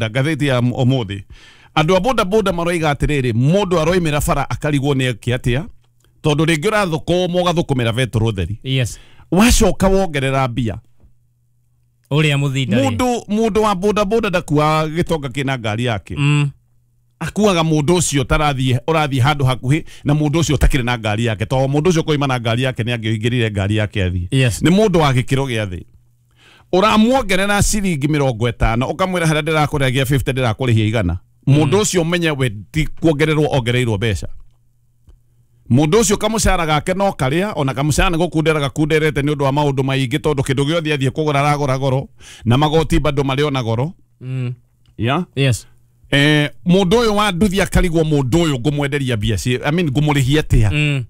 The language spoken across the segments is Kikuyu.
Ngathĩti ya ũmũthĩ, andũ a boda boda maroiga atĩrĩrĩ, mũndũ aroimĩra bara akarigwo nĩ eke atĩa, tondũ rĩngĩ ũrathũkũma ũgathũkũmĩra betũrũ theri. Wacoka wongerera mbia. Ũrĩa mũthinda rĩ. Mũndũ wa boda boda ndakuaga gĩtonga kĩna ngari yake. Akuaga mũndũ ũcio tarathiĩ ũrathiĩ handũ hakuhĩ na mũndũ ũcio ũtakĩrĩ na ngari yake, tondũ mũndũ ũcio koima na ngari yake nĩ angĩingĩrire ngari yake athiĩ. Nĩ mũndũ wa gĩkĩro gĩa thĩ. Ũramuongerera ciringi 50 ũkamwĩra harĩa ndĩrakũrĩhagia 50 ndĩrakũrĩhia 100. Mũndũ ũcio ũmenye we ti kuongererwo ongereirwo mbeca. Mũndũ ũcio kamũcara gake no karĩa, ona kamũcara nĩ gũkundera gakunderete nĩ ũndũ wa maũndũ maingĩ, tondũ kĩndũ gĩothe athiĩ kũgũra aragũra goro, na magoti bado marĩ ona goro. Yeah? Mũndũ ũyũ wa nduthi akarigwo mũndũ ũyũ ngũmwenderia mbia ci, I mean ngũmũrĩhia atĩa?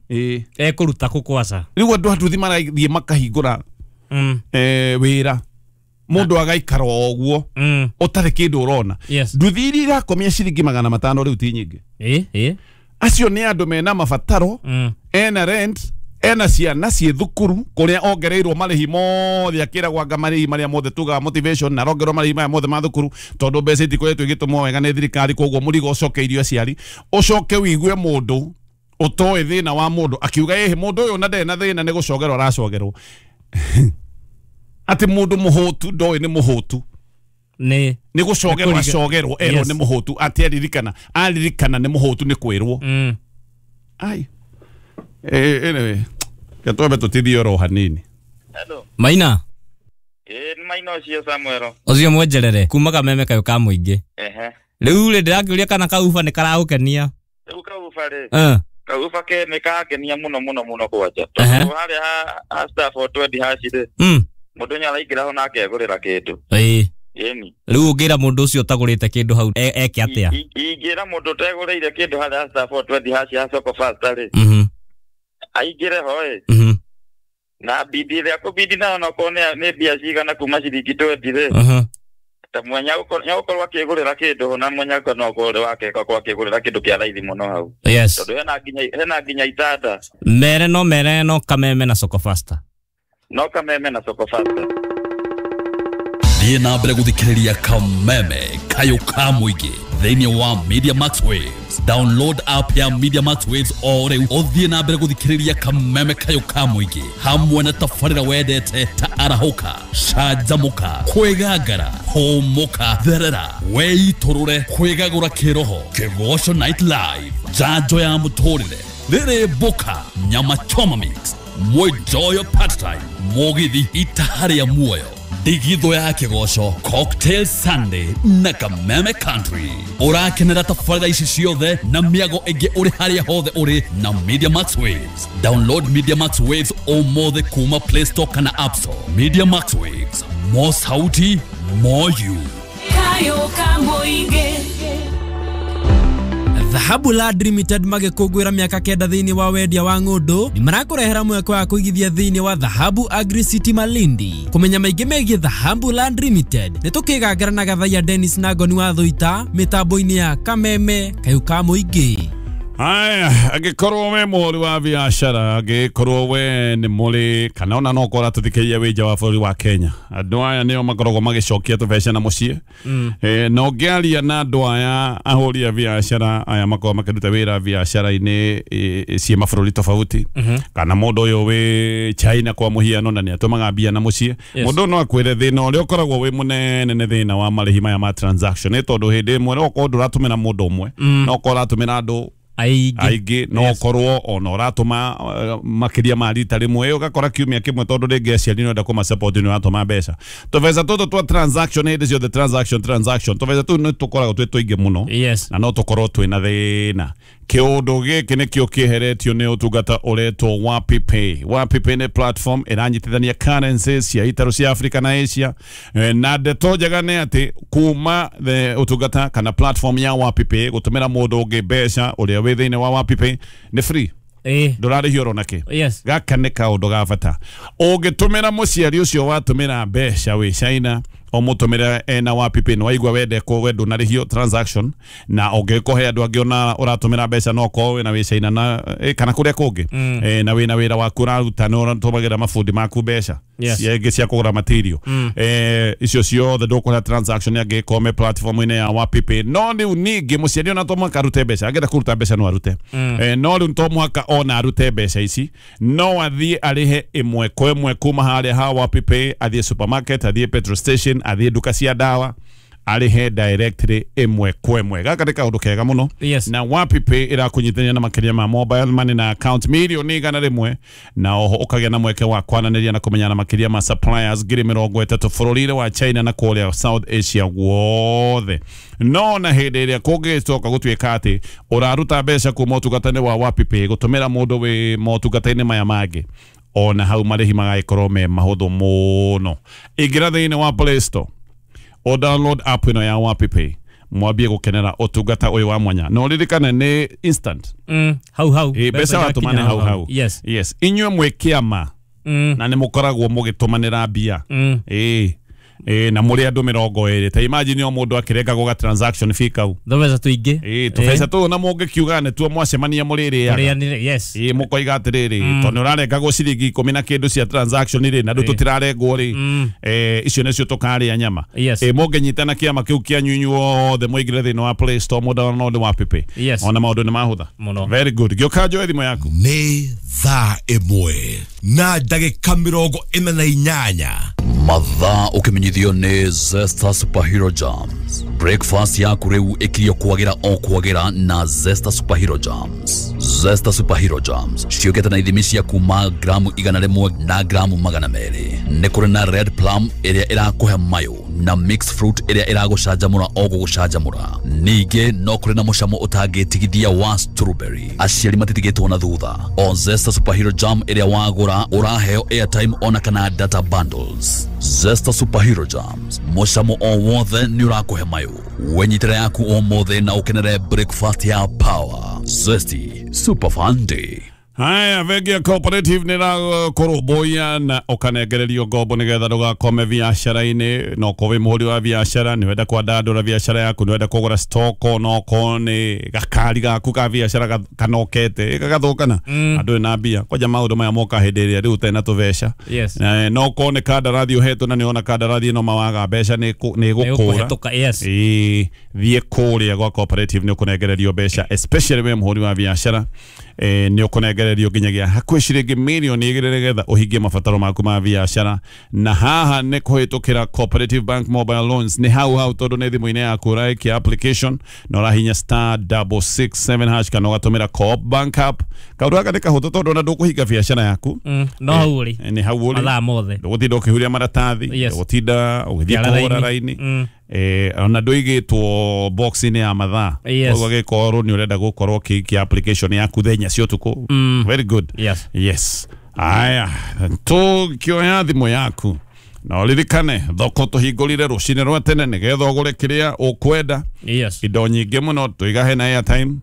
Ekũruta kũ kwaca? Rĩu andũ a nduthi marathiĩ makahingũra wĩra, mũndũ agaikara o ũguo ũtarĩ kĩndũ ũrona. Nduthi iria irakomia ciringi 500 rĩu ti nyingĩ. Acio nĩ andũ mena mabataro, ena rent, ena ciana ciĩ thukuru kũrĩa ongereirwo marĩhi mothe, akĩragwo anga marĩhi marĩa mothe tugaga motivation, na arongererwo marĩhi maya mothe ma thukuru tondũ mbeca itikoretwo igĩtũmwo wega nĩ thirikari, koguo mũrigo ũcokeirio aciari. Ũcoke wĩigue mũndũ ũtoĩ thĩna wa mũndũ akiuga ĩhĩ mũndũ ũyũ na ndarĩ na thĩna nĩ gũcogerwo aracogerwo. Atĩ mũndũ mũhũtu ndoĩ nĩ mũhũtu. Nĩ Nĩ gũcogerwo acogerwo erwo nĩ mũhũtu, atĩ aririkana, aririkana nĩ mũhũtu nĩ kwĩrwo. Ai. Anyway, gatwambe tũtithie oro hanini. Hello. Maina. Nĩ Maina ũcio Samuel. Ũcio mwenjerere kuma Kameme kayũ ka mũingĩ. Rĩu rĩ ndĩrakĩũria kana kauba nĩ karagũkenia. Rĩu kauba rĩ. Kauba ke nĩ kangenia mũno mũno mũno kwanja. Tondũ harĩa ha star 420 hash rĩ. Mũndũ nĩ araingĩra ho na akegũrĩra kĩndũ. Ĩni. Rĩu ũngĩra mũndũ ũcio ũtagũrĩte kĩndũ hau eke atĩa? Ingĩra mũndũ ũtegũrĩire kĩndũ harĩa star 420 hash ya Soko Fasta rĩ. Aingĩre ho ĩ. Na bidi ĩrĩa kũbidi nayo no korwo nĩ mbia cigana kuma ciringi 20 rĩ. Ta mwenya gũkorwo akĩgũrĩra kĩndũ na mwenya no korwo wake akorwo akĩgũrĩra kĩndũ kĩa raithi mũno hau. Tondũ hena nginya itanda. Mere no mere no Kameme na Soko Fasta. No Kameme na Soko Fasta. Thiĩ na mbere gũthikĩrĩria Kameme kayũ ka mũingĩ thĩinĩ wa Media Max Waves. Download app ya Media Max Waves o rĩu ũthiĩ na mbere gũthikĩrĩria Kameme kayũ ka mũingĩ hamwe na tabarĩra wendete ta arahũka, canjamũka, kwĩgangara, hũmũka, therera, weitũrũre, kwĩgagũra kĩroho, Kĩgoco Night Live, njanjo ya mũtũrĩre, rĩrĩ mboka, nyama choma mix, mwenjoyo part time, mũgithi itaha rĩa muoyo, ndigithũ ya kĩgoco, Cocktail Sunday na Kameme Country. Ũrakenera tabarĩra ici ciothe na mĩago ĩngĩ ũrĩ harĩa hothe ũrĩ na Media Max Waves. Download Media Max Waves ũmũthĩ kuma Play Store kana App Store. Media Max Waves, more sauti, more you. Kayo ka mũingĩ. Dhahabu Land Limited magĩkũngũĩra mĩaka 9 thĩinĩ wa wendia wa ng'ũndũ nĩ marakũrehera mweke wa kũigithia thĩinĩ wa Dhahabu Agri City Malindi. Kũmenya maingĩ megiĩ Dhahabu Land Limited nĩ tũkĩgangara na Gathaiya Dennis na Ngoni wa Thũita mĩtambo-inĩ ya Kameme kayũ ka mũingĩ. Haya, angĩkorwo we mũhũri wa biacara, angĩkorwo we nĩ mũrĩ kana ona no ũkorwo ũratũthikĩrĩria wĩ nja wa bũrũri wa Kenya, andũ aya nĩo makoragwo magĩcokia tũbeca na mũciĩ. Na ũngĩaria na andũ aya ahũri a biacara aya makoragwo makĩruta wĩra biacara-inĩ ciĩ mabũrũri tofauti, kana mũndũ ũyũ wĩ China kwa mũhiano na nĩ atũmaga mbia na mũciĩ, mũndũ no akwĩre thĩna ũrĩa ũkoragwo wĩ mũnene nĩ thĩna wa marĩhi maya ma transaction, nĩ tondũ hĩndĩ ĩmwe no ũkorwo ndũratũmĩra mũndũ ũmwe, no ũkorwo ũratũmĩra andũ aingĩ, no ũkorwo ona ũratũma makĩria ma rita rĩmwe, ũgakora kiumia kĩmwe tondũ rĩngĩ aciari nĩũrenda kũma support nĩ ũratũma mbeca. Tũbeca tũtũ twa transaction hĩndĩ ciothe, transaction transaction, tũbeca tũu nĩ tũkoragwo twĩ tũingĩ mũno na no tũkorwo twĩna thĩna. Kĩũndũ gĩkĩ nĩkĩo kĩeheretio nĩ ũtungata ũretwo WapiPay. WapiPay nĩ platform ĩranyitithania currencies cia itarũ cia Africa na Asia, na ndeto njega nĩ atĩ kuma the ũtungata kana platform ya WapiPay gũtũmĩra mũndũ ũngĩ mbeca ũrĩa wĩ thĩinĩ wa WapiPay nĩ free. Ndũrarĩhio oro nakĩ. Gaka nĩ kaũndũ ga bata. Ũngĩtũmĩra mũciari ũcio watũmĩra mbeca wĩ China Ũmũtũmĩre ena WapiPay nĩ waigua wende ko wendo na rĩhio transaction na ũngĩkũhe andũ angĩ ona ũratũmĩra mbeca no ũkorwo wĩna wĩ China na kana kũrĩa kũngĩ na wĩna wĩra waku ũraruta nĩ ũratũmagĩra mabundi maku mbeca ingĩ cia kũgũra material icio ciothe ndũkũrĩha transaction angĩkorwo me platform-inĩ ya WapiPay. No rĩu ningĩ mũciari ona to mũhaka arute mbeca, angĩenda kũruta mbeca no arute, no rĩu to mũhaka ona arute mbeca ici, no athiĩ arĩhe ĩmwe kwa ĩmwe kuma harĩa ha WapiPay, athiĩ supermarket, athiĩ petrol station, athiĩ nduka cia ndawa, arĩhe directly ĩmwe kwa ĩmwe. Gaka nĩ kaũndũ kega mũno. Na WapiPay ĩrakũnyitithania na makĩria ma mobile money na account 100,000,000 na oho ũkagĩa na mweke wa kwananĩria na kũmenyana makĩria ma suppliers 30,000 bũrũri-inĩ wa China na kũrĩa South Asia guothe. No na hĩndĩ ĩrĩa kũngĩcoka gũtuĩka atĩ ũraruta mbeca kuma ũtungata-inĩ wa WapiPay gũtũmĩra mũndũ wĩ motungata-inĩ maya mangĩ, ona hau marĩhi magagĩkorwo me mahũthũ mũno. Ingĩra thĩinĩ wa Play Store o download app ĩno ya WapiPay mwambie gũkenera ũtungata ũyũ wa mwanya. No ririkane nĩ instant. Hau hau. Mbeca watũmane hau hau. Yes. Yes. Inyuĩ mwĩ kĩama na nĩ mũkoragwo mũgĩtũmanĩra mbia. Na mũrĩ andũ 20. Ta imagine o mũndũ akĩrengagwo ga transaction fee kau. Tũbeca tũingĩ. Tũbeca tũu na mũngĩkiuga nĩ tuo mwacemania mũrĩrĩaga. Yes. Mũkoiga atĩrĩrĩ, tondũ nĩ ũrarengagwo ciringi 10 na kĩndũ cia transaction rĩ, na andũ tũtirarengwo rĩ, icio nĩcio tũkarĩa nyama. Mũngĩnyitana kĩama kĩu kĩanyu inyuothe mũingĩre thĩinĩ wa Play Store mũ download WapiPay. Ona maũndũ nĩ mahũtha. Very good. Gĩũka njoe thimũ yaku. Nĩ thaa 1:48. Mathaa ũkĩmenyithio nĩ Zesta Superhero Jams. Breakfast yaku rĩu ĩkirio kwagĩra o kwagĩra na Zesta Superhero Jams. Zesta Superhero Jams ciũkĩte na ithimi cia kuma gramu 100 na gramu 200. Nĩ kũrĩ na red plum ĩrĩa ĩrakũhe mayo na mixed fruit ĩrĩa ĩragũcanjamũra o gũgũcanjamũra. Ningĩ no kũrĩ na mũcamo ũtangĩtigithia wa strawberry. Aciari matitigĩtwo na thutha. O Zesta Superhero Jam ĩrĩa wagũra ũraheo airtime ona kana data bundles. Zesta Superhero Jams, mũcamo o wothe nĩ ũrakũhe mayo. Wenyitĩra yaku ũmũthĩ na ũkenere breakfast ya power. Zesty Super Fun Day. Haya, bengi ya Cooperative nĩ ĩrakũrũmbũiya na ũkanengererio ngombo nĩgetha ndũgakome biacara-inĩ. No ũkorwo wĩ mũhũri wa biacara, nĩ wenda kwandandũra biacara yaku, nĩ wenda kũgũra stock, no ũkorwo nĩ gakari gaku ka biacara kanokete gagathũkana, andũ na mbia kwanja maũndũ maya moka hĩndĩ ĩrĩa rĩu ũtarĩ na tũbeca. No ũkorwo nĩ kandarathi ũhetwo na nĩ wona kandarathi ĩno mawaga mbeca nĩ ĩgũkũra. Thiĩ kũrĩa gwa Cooperative nĩ ũkũnengererio mbeca, especially wĩ mũhũri wa biacara. Nĩ ũkũnengererio nginyagia hakuhĩ ciringi 2 milioni nĩgetha ũhingie mabataro maku ma biacara. Na haha nĩ kũhĩtũkĩra Cooperative Bank Mobile Loans nĩ hau hau, tondũ nĩ thimũ-inĩ yaku ũraikia application na ũrahinya *667# kana ũgatũmĩra Co-op Bank app. Kaũndũ gaka nĩ kahũthũ tondũ ona ndũkũhinga biacara yaku. No hau ũrĩ. Nĩ hau ũrĩ. Mathaa mothe. Ndũgũtinda ũkĩhuria maratathi, ndũgũtinda ũgĩthiĩ kũhũra raini. Ona ndũigĩtwo box-inĩ ya mathaa. Koguo gĩkorwo nĩ ũrenda gũkorwo ũkĩikia application yaku thenya cia ũtukũ. Very good. Yes. Yes. Aya, tũkĩoya thimũ yaku na ũririkane thoko tũhingũrire rũcinĩ rwa tene nĩgetha ũgũre kĩrĩa ũkwenda. Yes. Indo nyingĩ mũno tũiga hena airtime.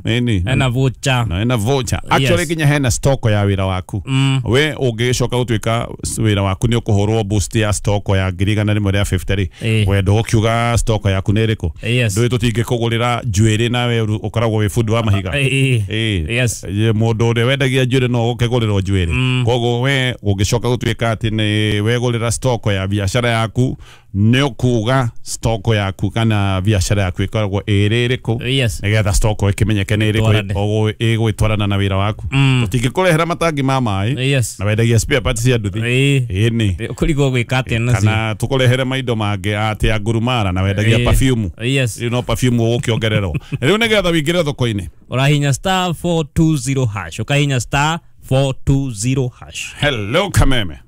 Nini? Hena voucher. Na hena voucher. Actually nginya hena stock ya wĩra waku. We ũngĩgĩcoka gũtuĩka wĩra waku nĩ ũkũhũrwo boost ya stock ya 150 rĩ, we ndũgũkiuga stock yaku nĩ ĩrĩkũ. Ndũĩ tũtingĩkũgũrĩra njuĩrĩ nawe ũkoragwo wĩ bundi wa mahiga. Yes. Mũndũ ũrĩa wendagia njuĩrĩ no ũkĩgũrĩrwo njuĩrĩ. Koguo we ũngĩcoka gũtuĩka atĩ nĩ wegũrĩra stock ya biacara yaku, nĩ ũkuga stock yaku kana biacara yaku ĩkoragwo ĩrĩ ĩrĩkũ, nĩgetha stock ĩkĩmenyeke nĩ ĩrĩkũ ĩgwĩtwarana na wĩra waku. Tũtingĩkũrehera matangi ma maĩ na wendagia spare parts cia nduthi. Ĩni. Ũkũrigwo gwĩka atĩa nacio. Kana tũkũrehere maindo mangĩ atĩ ya ngurumara na wendagia perfume. Rĩu no perfume ũgũkĩongererwo. Rĩu nĩgetha wĩingĩre thoko-inĩ ũrahinya *420#, ũkahinya *420#. Hello Kameme.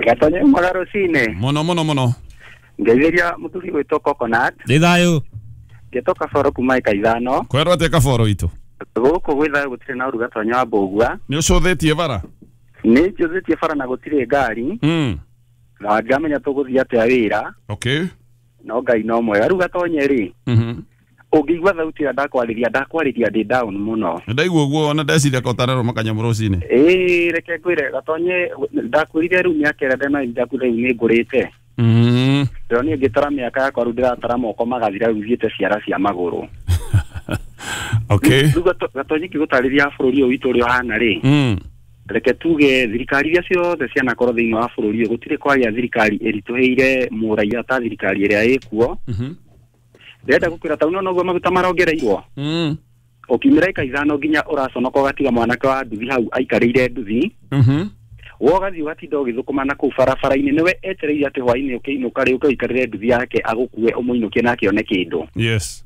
Gatonye mwega rũcinĩ. Mũno mũno mũno. Ngeithĩria mũthuri gwĩtwo Coconut. Ndĩ thayũ. Ngĩtwo Kaboro kuma ĩka 5. Kwerwo atĩa Kaboro itũ? Gũkũ gwĩ thayũ gũtirĩ na ũru Gatonye wa Mbũgua. Nĩ ũcũthĩtie bara? Nĩ njũthĩtie bara na gũtirĩ ngari. Na ngamenya tũgũthiĩ atĩa wĩra. Okay. No Ngai no mwega. Rĩu Gatonye rĩ, ũngĩigua thauti ĩrĩa ndakwarĩria ndĩ down mũno. Ndaigua ũguo ona ndeciria kotarero makanyamũ rũcinĩ. Reke ngwĩre Gatonye, ndakwĩrire rĩu mĩaka ĩrĩa ndĩnayo ndaku rĩu nĩ ngũrĩte. Ndĩronire ngĩtara mĩaka yakwa rĩu ndĩratara moko magathira rĩu thiĩte ciara cia magũrũ. Okay. Rĩu Gatonye ngĩgũtarĩria bũrũri ũyũ witũ ũrĩa ũhana rĩ, reke tuge thirikari iria ciothe cianakorwo thĩinĩ wa bũrũri ũyũ gũtirĩ kwagĩa thirikari ĩritũhĩire mũraiya ta thirikari ĩrĩa ĩkuo. Ndĩrenda gũkwĩra ta ũno noguo maguta marongereirwo. Ũkiumĩra ika ithano nginya ũraconoka ũgatiga mwanake wa nduthi hau aikarĩire nduthi. Wogathiĩ ũgatinda ũgĩthũkũma na kũu barabara-inĩ nĩwe etereire atĩ hwaĩ-inĩ ũkĩinũka rĩ ũke ũikarĩre nduthi yake agũkue ũmũinũkie nake one kĩndũ. Yes.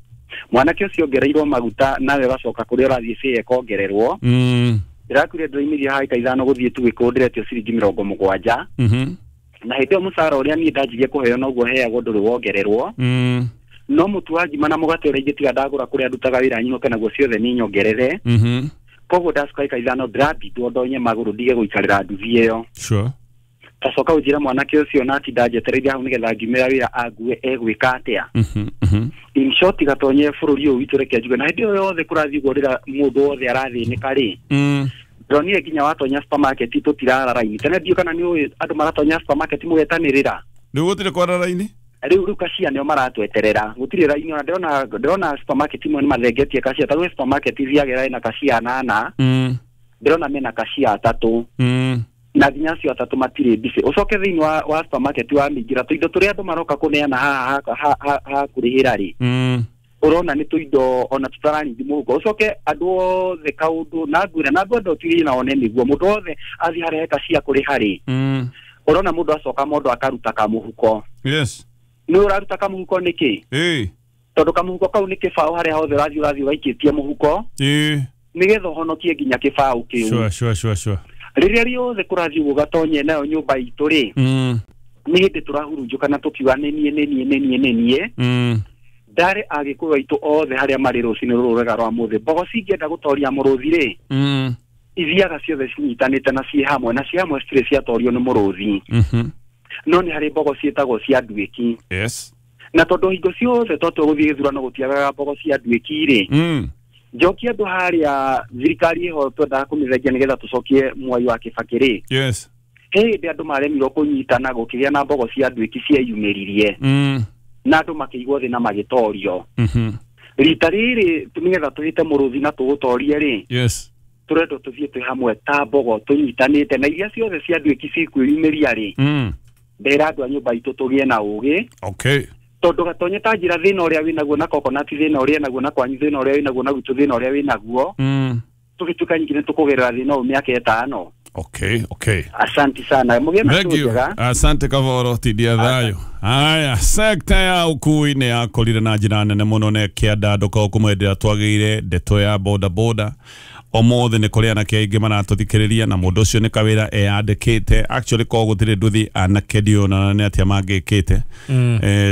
Mwanake ũcio ongereirwo maguta nawe ũgacoka kũrĩa ũrathiĩ bĩĩ ĩkongererwo. Ndĩrakwĩra ndĩraumĩria haha ika ithano gũthiĩ tu gĩkũũ ndĩretio ciringi 70. Na hĩndĩ ĩyo mũcara ũrĩa niĩ ndanjirie kũheo noguo heagwo ndũrĩ wongererwo. No mũtu wa ngima na mũgate ũrĩa ingĩtiga ndagũra kũrĩa ndutaga wĩra nyinũke naguo ciothe nĩ nyongerere. Koguo ndacoka ika ithano ndĩrambindwo ndonye magũrũ ndige gũikarĩra nduthi ĩyo. Sure. Tacoka ũnjĩre mwanake ũcio na atinda njetereire hau nĩgetha ngiumĩra wĩra angue egwĩka atĩa. In short Gatonye bũrũri ũyũ witũ reke njuge na hĩndĩ ĩyo yothe kũrathiĩ ũguo rĩrĩa mũndũ wothe arathĩnĩka rĩ, ndĩronire nginya watonya supermarket tũtirara raini. Tene ndiũ kana nĩ ũĩ andũ maratonya supermarket mũgetanĩrĩra. Rĩu gũtirĩ kwara raini? Rĩu kacia nĩo maratweterera gũtirĩ raini ona ndĩrona supermarket imwe nĩ mathengetie kacia ta rĩu supermarket ithiagĩra ĩna kacia 8 ndĩrona mena kacia 3 na nginya acio 3 matirĩ busy. Ũcoke thĩinĩ wa supermarket wa mĩingĩra tũindo tũrĩa andũ maroka kũneana haha ha kũrĩhĩra rĩ, ũrona nĩ tũindo ona tũtararingi mũhuko. Ũcoke andũ othe kaũndũ na ngwĩra na ngwenda ũtuĩrie na one nĩguo mũndũ wothe athiĩ harĩa he kacia kũrĩha rĩ, ũrona mũndũ acoka mũndũ akaruta kamũhuko. Yes. Nĩ ũraruta kamũhuko nĩkĩ? Tondũ kamũhuko kau nĩ kĩbaũ harĩa hothe ũrathiĩ ũgaikĩtie mũhuko nĩgetha ũhonokie nginya kĩbaũ kĩu. Sure, sure, sure. Rĩrĩa rĩothe kũrathiĩ ũguo Gatonye nayo nyũmba itũ rĩ, nĩ hĩndĩ tũrahurunjũka na tũkiuga nĩ niĩ nĩ niĩ nĩ niĩ nĩ niĩ. Ndarĩ agĩkũyũ aitũ othe harĩa marĩ rũcinĩ rũrũ rwega rwa mũthĩ mbogo cingĩenda gũtoria mũrũthi rĩ, ithiaga ciothe cinyitanĩte na ciĩ hamwe na ciĩ hamwe citirĩ ciatorio nĩ mũrũthi. No nĩ harĩ mbogo ciĩtagwo cia nduĩki. Yes. Na tondũ hingo ciothe twatua gũthiĩ gĩthurano gũtiagaga mbogo cia nduĩki rĩ, njokie andũ harĩa thirikari ĩho twendaga kũmĩthengia nĩgetha tũcokie Mwai wa Kĩbakĩ rĩ. Yes. He hĩndĩ andũ maremirwo kũnyitana gũkĩgĩa na mbogo cia nduĩki cieyumĩririe. Na andũ makĩigwo thĩ na magĩtorio. Rita rĩrĩ nĩgetha tũhĩte mũrũthi na tũũtorie rĩ, Yes. tũrendwo tũthiĩ twĩ hamwe ta mbogo tũnyitanĩte na iria ciothe cia nduĩki cikwĩyumĩria rĩ, ndĩra andũ a nyũmba itũ tũgĩe na ũgĩ. Okay. Tondũ Gatonye ta njĩra thĩna ũrĩa wĩnaguo na coconut thĩna ũrĩa naguo na kwanyu thĩna ũrĩa wĩnaguo na gwitũ thĩna ũrĩa wĩnaguo, tũgĩtuĩka nyingĩ nĩ tũkũgerera thĩna ũyũ mĩaka 5. Okay, okay. Asante sana. Mũgĩe na Thank you. njega. Asante Kavoro tidia thayo. Haya, sekta ya ukui nĩ yakũrire na njĩra nene mũno na ĩkĩandandũka ũkũmwendera twagĩire ndeto ya boda boda. Ũmũthĩ nĩ kũrĩ anake aingĩ maratũthikĩrĩria na mũndũ ũcio nĩ kawĩra eyandĩkĩte. Actually ko gũtirĩ nduthi anake ndiona nĩ atĩa mangĩkĩte.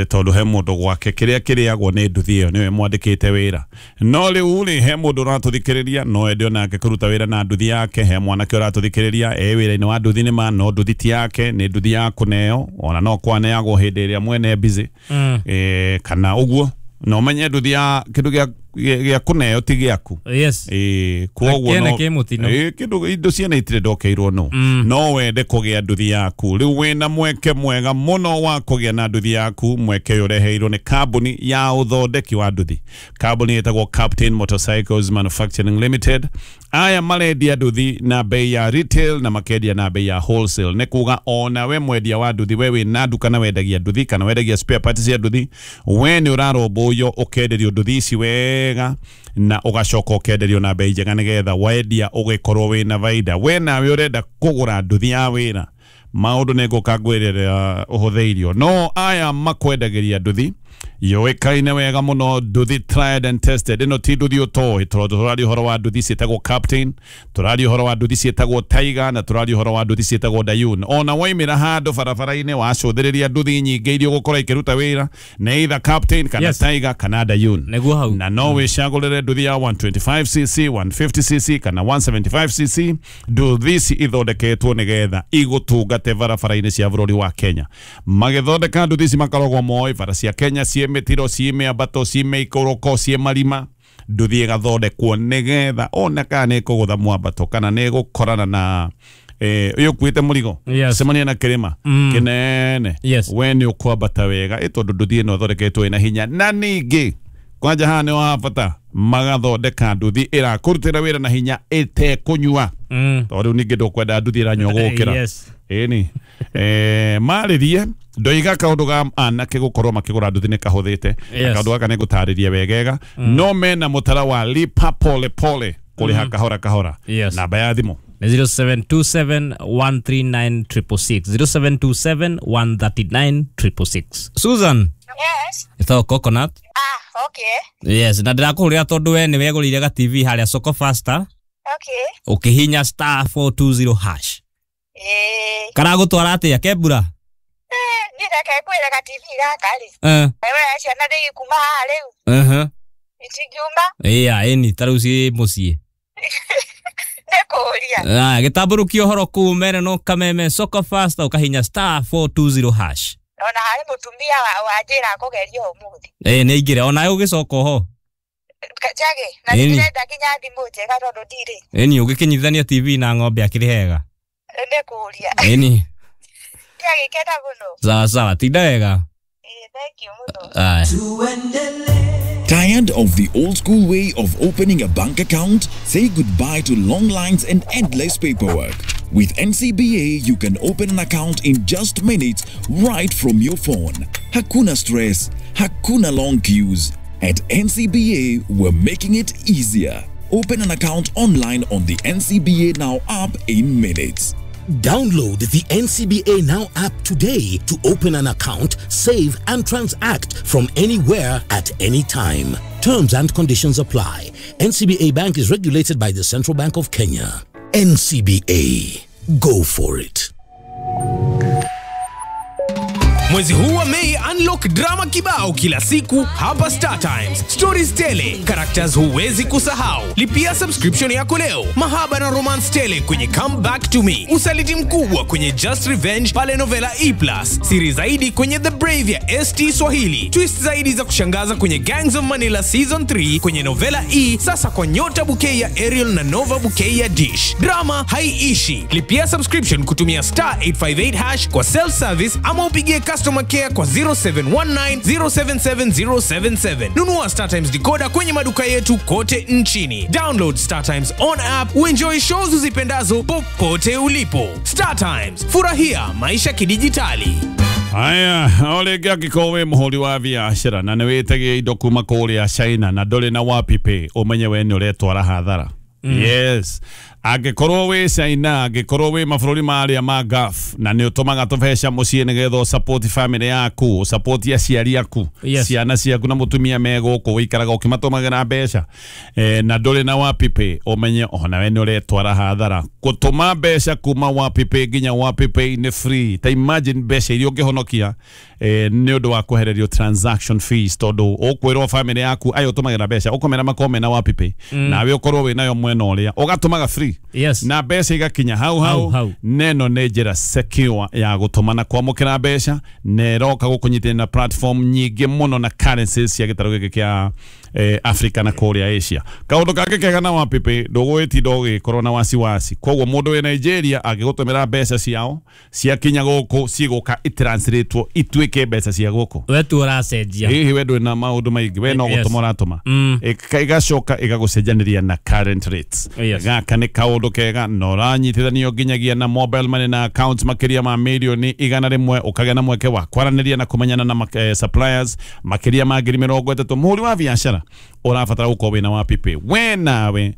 Tondũ he mũndũ gwake kĩrĩa kĩrĩagwo nĩ nduthi ĩyo nĩwe mwandĩkĩte wĩra. No rĩu rĩ he mũndũ ũratũthikĩrĩria no ende onake kũruta wĩra na nduthi yake. He mwanake ũratũthikĩrĩria e wĩra-inĩ wa nduthi nĩma no nduthi ti yake nĩ nduthi ya kũneo ona no kwaneagwo hĩndĩ ĩrĩa mwene busy. Kana ũguo no menye nduthi ya kĩndũ gĩa kũneo ti gĩaku. Yes. Koguo no kĩndũ indo ciene itirĩ ndokeirwo no. No wende kũgĩa nduthi yaku. Rĩu wĩna mweke mwega mũno wa kũgĩa na nduthi yaku. Mweke ũyũ ũreheirwo nĩ kambuni ya ũthondeki wa nduthi. Kambuni ĩtagwo Captain Motorcycles Manufacturing Limited. Aya marendia nduthi na bei ya retail na makendia na bei ya wholesale. Nĩ kuga ona we mwendia wa nduthi, we wĩna nduka na wendagia nduthi kana wendagia spare parts cia nduthi, we nĩ ũrarũmbũiyo ũkenderio nduthi ici wega na ũgacoka ũkenderio na bei njega nĩgetha wendia ũgĩkorwo wĩna baida. We nawe ũrenda kũgũra nduthi ya wĩra, maũndũ nĩ ngũka ngwĩrĩra ũhũthĩirio. No aya makwendagĩria nduthi yũĩkaine wega mũno, nduthi tried and tested. Ĩno ti nduthi ũtoĩ, tondũ tũraria ũhoro wa nduthi ciĩtagwo Captain, tũraria ũhoro wa nduthi ciĩtagwo Tiger na tũraria ũhoro wa nduthi ciĩtagwo Dayun. Ona waimĩra handũ barabara-inĩ wacũthĩrĩria nduthi nyingĩ iria ũgũkora ikĩruta wĩra nĩ either Captain kana Yes. Tiger kana Dayun. Nĩguo hau. Na no wĩcagũrĩre nduthi ya 125cc, 150cc kana 175cc. Nduthi ici ithondeketwo nĩgetha igũtungate barabara-inĩ cia bũrũri wa Kenya. Magĩthondeka nduthi ici makoragwo moĩ bara cia Kenya ciĩ mĩtiro, ciĩ mĩambato, ciĩ mĩikũrũko, ciĩ marima. Nduthi ĩgathondekwo nĩgetha ona kana nĩ ĩkũgũtha mwambato kana nĩ ĩgũkorana na Uyu kuite murigo cemania na kirima kinene we ni ukwambata wega tondu nduthi ino thondeketwo ina hinya na ningi kwanja haha ni wa bata magathondeka nduthi irakurutira wira na hinya itekunyua tondu riu ningi ndukwenda nduthi iranyua gukira ĩni marĩrie ndoiga kaundu ga anake gukorwo makigura nduthi nĩ kahuthĩte kaundu gaka nĩ ngũtarĩria wegega no mena mũtara wa lipa pole pole kũrĩha kahora kahora. Namba ya thimũ 0727 139 666 0727 139 666. Susan. Yes. Ito coconut. Ah, okay. Yes, na ndĩrakũhũrĩra tondũ we nĩ wegũrĩire ga TV harĩa Soko Faster. Okay. Ũkĩhinya star 420 hash. Karagũtwara atĩa kembura? Niĩ reke ngwĩre ga TV gaka rĩ. Wewe ciana ndĩgĩkuma haha rĩu. Itingiuma. Ĩya, ĩni ta rĩu ciĩ mũciĩ. Nĩkũria. Gĩtambũrũkia ũhoro kũu mere no kameme Soko Faster ũkahinya star 420 hash. Ona harĩ mũtumia wanjĩra kũgeria ũmũthĩ. Nĩ aingĩre onawe ũgĩcoka oho. Njage, na ndĩrenda nginya thimũ njega tondũ ndirĩ. Ĩni ũgĩkĩnyitithania TV na ng'ombe akĩrĩ hega. Nĩkũria. Ĩni. Ndiagĩkena mũno. Sawa sawa, tinda wega. Thank you mũno. Tired of the old school way of opening a bank account? Say goodbye to long lines and endless paperwork. With NCBA, you can open an account in just minutes right from your phone. Hakuna stress, hakuna long queues. At NCBA, we're making it easier. Open an account online on the NCBA Now app in minutes. Download the NCBA Now app today to open an account, save and transact from anywhere at any time. Terms and conditions apply. NCBA Bank is regulated by the Central Bank of Kenya. NCBA. Go for it. Mwezi huu wa Mei, unlock drama kibao kila siku hapa Star Times. Stories tele, characters huwezi kusahau. Lipia subscription yako leo. Mahaba na romance tele kwenye Come Back to Me. Usaliti mkubwa kwenye Just Revenge pale Novela E+. Siri zaidi kwenye The Brave ya ST Swahili. Twist zaidi za kushangaza kwenye Gangs of Manila Season 3 kwenye Novela E, sasa kwa Nyota Bouquet ya Ariel na Nova Bouquet ya Dish. Drama haiishi. Lipia subscription kutumia star 858 hash kwa self service ama upigie customer care kwa 0719 077 077. Nunua Star Times decoder kwenye maduka yetu kote nchini. Download Star Times on app uenjoy shows uzipendazo popote ulipo. Star Times, furahia maisha kidijitali. Haya, ole angĩkorwo wĩ mũhũri wa biacara na nĩ wĩtagia indo kuma kũrĩa China na ndũrĩ na WapiPay, ũmenye we nĩ ũretwara hathara. Yes. Angĩkorwo wĩ China, angĩkorwo wĩ mabũrũri marĩa ma Gulf na nĩ ũtũmaga tũbeca mũciĩ nĩgetha ũsupport family yaku, ũsupport aciari aku, ciana ciaku na mũtumia me gũkũ ũikaraga ũkĩmatũmagĩra mbeca na ndũrĩ na WapiPay, ũmenye ona we nĩ ũretwara hathara. Gũtũma mbeca kuma WapiPay nginya WapiPay nĩ free. Ta imagine mbeca iria ũngĩhonokia nĩ ũndũ wa kwehererio transaction fees, tondũ ũkwĩrwo family yaku ayo ũtũmagĩra mbeca ũkomera makome na WapiPay nawe ũkorwo wĩ nayo mwena ũrĩa ũgatũmaga free. Yes. Na mbeca igakinya hau hau. Neno nĩ njĩra secure ya gũtũma na kwamũkĩra mbeca na ĩroka gũkũnyitĩrĩra na platform nyingĩ mũno na currencies cia gĩtarũ gĩkĩ kĩa Africa na kũrĩa Asia. Kaũndũ kangĩ kega na WapiPay, ndũgũgĩtinda ũgĩkorwo na wasiwasi. Koguo mũndũ wĩ Nigeria angĩgũtũmĩra mbeca ciao ciakinya gũkũ cigũka itranslatewo ituĩke mbeca cia gũkũ. We tu ũracenjia. Hihi we ndũrĩ na maũndũ maingĩ, we no gũtũma ũratũma. Ĩgacoka ĩgagũcenjanĩria na current rates. Gaka nĩ kaũndũ kega na ũranyitithanio nginyagia na mobile money na accounts makĩria ma mirioni 100, ũkagĩa na mweke wa kwaranĩria na kũmenyana na suppliers makĩria ma 30,000. Mũhũri wa biacara ũrabatara gũkorwo wĩna WapiPay. We nawe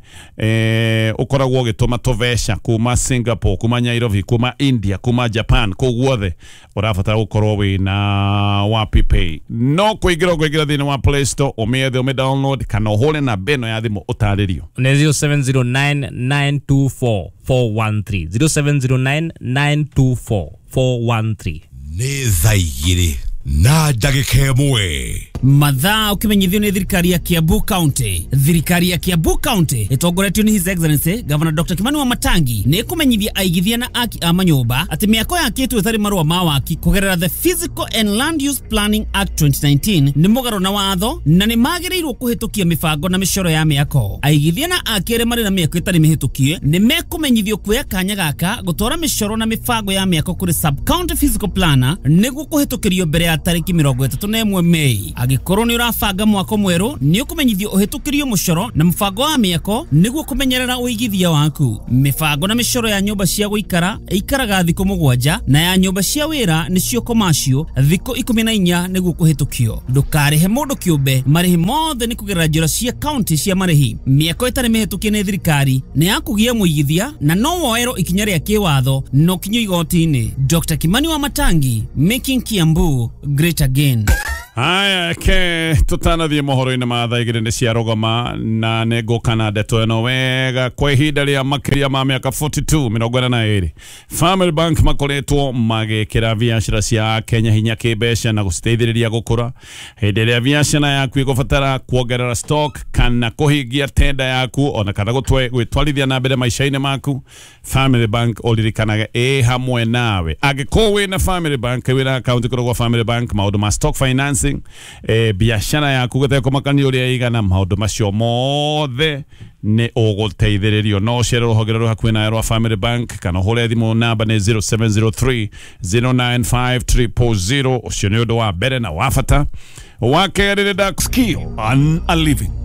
ũkoragwo ũgĩtũma tũbeca kuma Singapore, kuma Nairobi, kuma India, kuma Japan, kũu guothe ũrabatara gũkorwo wĩna WapiPay. No kũingĩra ũkũingĩra thĩinĩ wa Play Store, ũmĩethe, ũmĩ download kana ũhũre namba ĩno ya thimũ ũtarĩrio. Nĩ 0709 924 413 0709 924 413. Nĩ thaa igĩrĩ. na ndagĩka ĩmwe. Mathaa ũkĩmenyithio nĩ thirikari ya Kiambu County. Thirikari ya Kiambu County ĩtongoretio nĩ His Excellency Governor Dr. Kimani Wamatangi nĩ ĩkũmenyithia aigithia na aki a manyũmba atĩ mĩako yakĩtwo ĩtarĩ marũa ma waki kũgerera the Physical and Land Use Planning Act 2019 nĩ mũgarũ na watho na nĩ magĩrĩirwo kũhĩtũkia mĩbango na mĩcoro ya mĩako. Aigithia na aki arĩa marĩ na mĩako ĩtarĩ mĩhĩtũkie nĩ mekũmenyithio kuoya kanya gaka gũtwara mĩcoro na mĩbango ya mĩako kũrĩ sub-county physical planner nĩguo kũhĩtũkĩrio mbere ya tarĩki 31 Mei. Angĩkorwo nĩ ũrabanga mwako mwerũ nĩ ũkũmenyithio ũhĩtũkĩrio mũcoro na mũbango wa mĩako nĩguo kũmenyerera ũigithia waku. Mĩbango na mĩcoro ya nyũmba cia gũikara ĩikaraga thikũ 7 na ya nyũmba cia wĩra nĩcio commercial thikũ 14 nĩguo kũhĩtũkio. Ndũkarĩhe mũndũ kĩũmbe, marĩhi mothe nĩ kũgerera njĩra cia county cia marĩhi. Mĩako ĩtarĩ mĩhĩtũkie nĩ thirikari nĩ ya kũgia mũigithia na no woerwo ikinya rĩa kĩwatho no kinyo igoti-inĩ. Dr. Kimani Wamatangi, making Kiambu great again. Haya ke tutanathiĩ mohoro-inĩ ma thaa igĩrĩ nĩ ciarũgama na nĩ ngũka na ndeto ĩno wega kwa ihinda rĩa makĩria ma mĩaka 42 42. Family Bank makoretwo magĩkĩra biacara cia Kenya hinya kĩmbeca na gũciteithĩrĩria gũkũra. Hĩndĩ ĩrĩa biacara yaku ĩgũbatara kuongerera stock kana kũhingia tenda yaku ona kana gwĩtwarithia na mbere maica-inĩ maku, Family Bank ũririkanage ĩ hamwe nawe. Angĩkorwo wĩna Family Bank, wĩna akaunti kũrĩ gwa Family Bank, maũndũ ma stock finance, biashara yaku gũtekũmakania ũrĩa ĩigana, maũndũ macio mothe nĩ ũgũteithĩrĩrio. No ũcere rũhonge rũrĩ hakuhĩ nawe rwa Family Bank kana ũhũre thimũ namba nĩ 0703 095 000. Ũcio nĩ ũndũ wa mbere na wa bata. Wa kerĩ nĩ Dark Skill and a Living.